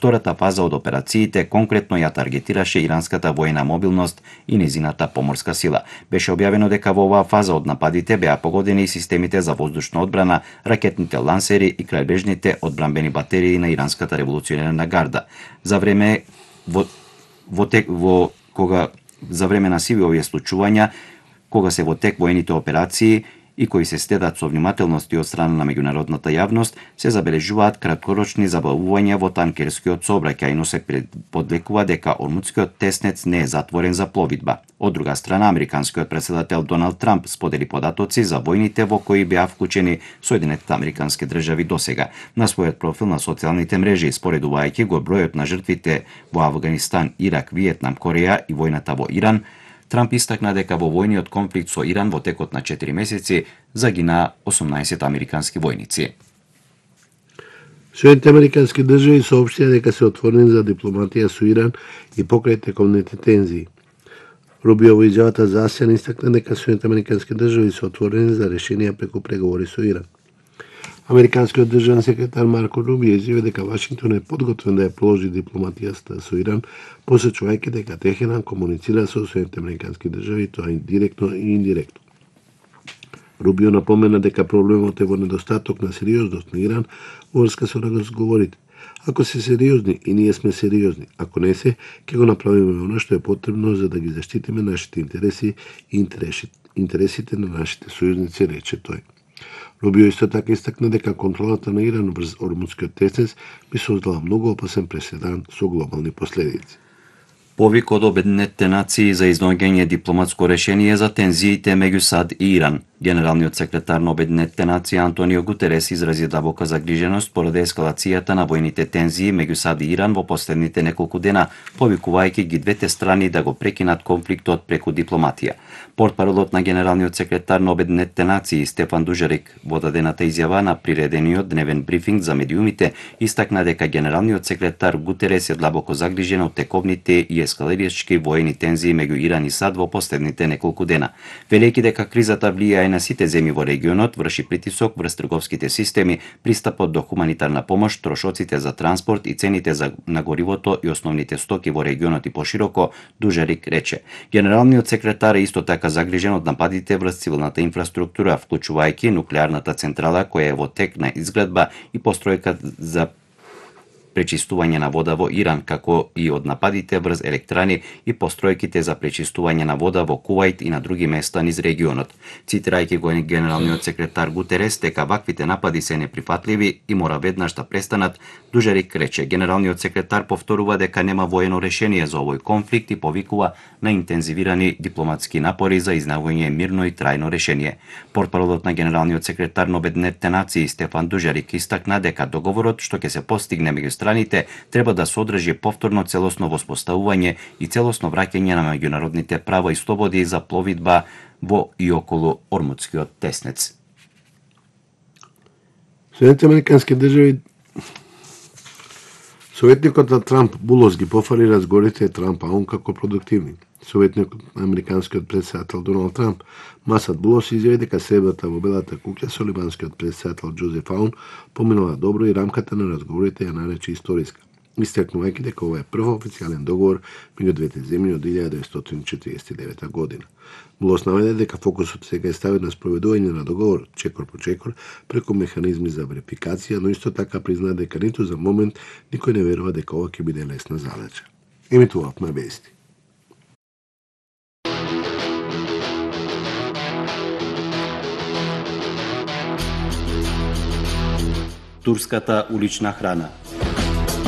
Втората фаза од операциите конкретно ја таргетираше иранската воена мобилност и незината поморска сила. Беше објавено дека во оваа фаза од нападите беа погодени и системите за воздушна одбрана, ракетните лансери и крајбрежните одбранбени батерии на иранската револуционерна гарда. За време на сиви овие случувања, кога се во тек воените операции и кои се следат со внимателност и од страна на меѓународната јавност, се забележуваат краткорочни забавувања во танкерскиот сообраќај, но се подлекува дека Ормудскиот теснец не е затворен за пловидба. Од друга страна, американскиот председател Доналд Трамп сподели податоци за војните во кои беа вклучени Соединетите американски држави досега. На својот профил на социјалните мрежи, споредувајќи го бројот на жртвите во Авганистан, Ирак, Виетнам, Кореја и војната во Иран, Трамп истакна дека во војниот конфликт со Иран во текот на 4 месеци загина 18 американски војници. Соединетите американски држави соопштија дека се отворени за дипломатија со Иран и покрај тековните тензии. Рубио во изјавата за АСЕАН истакна дека Соединетите американски држави се отворени за решенија преку преговори со Иран. Американскиот државен секретар Марко Рубио изјави дека Вашингтон е подготвен да ја продолжи дипломатијата со Иран, посочувајќи дека Техеран комуницира со Соединетите американски држави, тоа и директно и индиректно. Рубио напомена дека проблемот е во недостаток на сериозност на Иран во врска со разговорите. Ако се сериозни и ние сме сериозни, ако не се, ќе го направиме оно што е потребно за да ги заштитиме нашите интереси и интересите на нашите сојузници, рече тој. Рубио исто така истакна дека контролата на Иран врз Ормудскиот теснец би создала многу опасен преседан со глобални последици. Повик од Обединетите нации за изнаоѓање дипломатско решение за тензиите меѓу САД и Иран. Генералниот секретар на Обединетите нации Антонио Гутерес изрази дабока загриженост поради ескалацијата на војните тензии меѓу САД и Иран во последните неколку дена, повикувајќи ги двете страни да го прекинат конфликтот преку дипломатија. Портпаролот на генералниот секретар на Обединетите нации Стефан Дужарик во дадената изјава на приредениот дневен брифинг за медиумите истакна дека генералниот секретар Гутерес е длабоко загрижен од тековните и ескалирачки воени тензии меѓу Иран и САД во последните неколку дена. Велејќи дека кризата влијае на сите земји во регионот, врши притисок врз трговските системи, пристапот до хуманитарна помош, трошоците за транспорт и цените на горивото и основните стоки во регионот и пошироко, Дужарик рече. Генералниот секретар е исто така загрижен од нападите врз цивилната инфраструктура, вклучувајќи нуклеарната централа која е во тек на изградба и постројка за пречистување на вода во Иран, како и од нападите врз електрани и постројките за пречистување на вода во Кувајт и на други места низ регионот. Цитирајќи го генералниот секретар Гутерес дека ваквите напади се неприфатливи и мора веднаш да престанат, Дужарик рече. Генералниот секретар повторува дека нема воено решение за овој конфликт и повикува на интензивирани дипломатски напори за изнаоѓање мирно и трајно решение. Портпаролот на генералниот секретар на Обединетите нации Стефан Дужарик истакна дека договорот што ќе се постигне меѓу страните треба да содржи повторно целосно воспоставување и целосно враќање на меѓународните права и слободи за пловидба во и околу Ормудскиот теснец. Соединетите американски држави Советникот на Трамп Булос ги пофали разговорите Трамп Аун како продуктивни. Советникот на американскиот председател Доналд Трамп Масад Булос изјави дека средбата во Белата куќа со либанскиот председател Џозеф Аун поминала добро и рамката на разговорите ја нарече историска, истакнувајќи дека ова е прв официјален договор меѓу двете земји од 1949 година. Булос наведе дека фокусот сега е ставен на спроведување на договор чекор по чекор преку механизми за верификација, но исто така призна дека ниту за момент никој не верува дека ова ќе биде лесна задача. Емитувавме вести. Турската улична храна.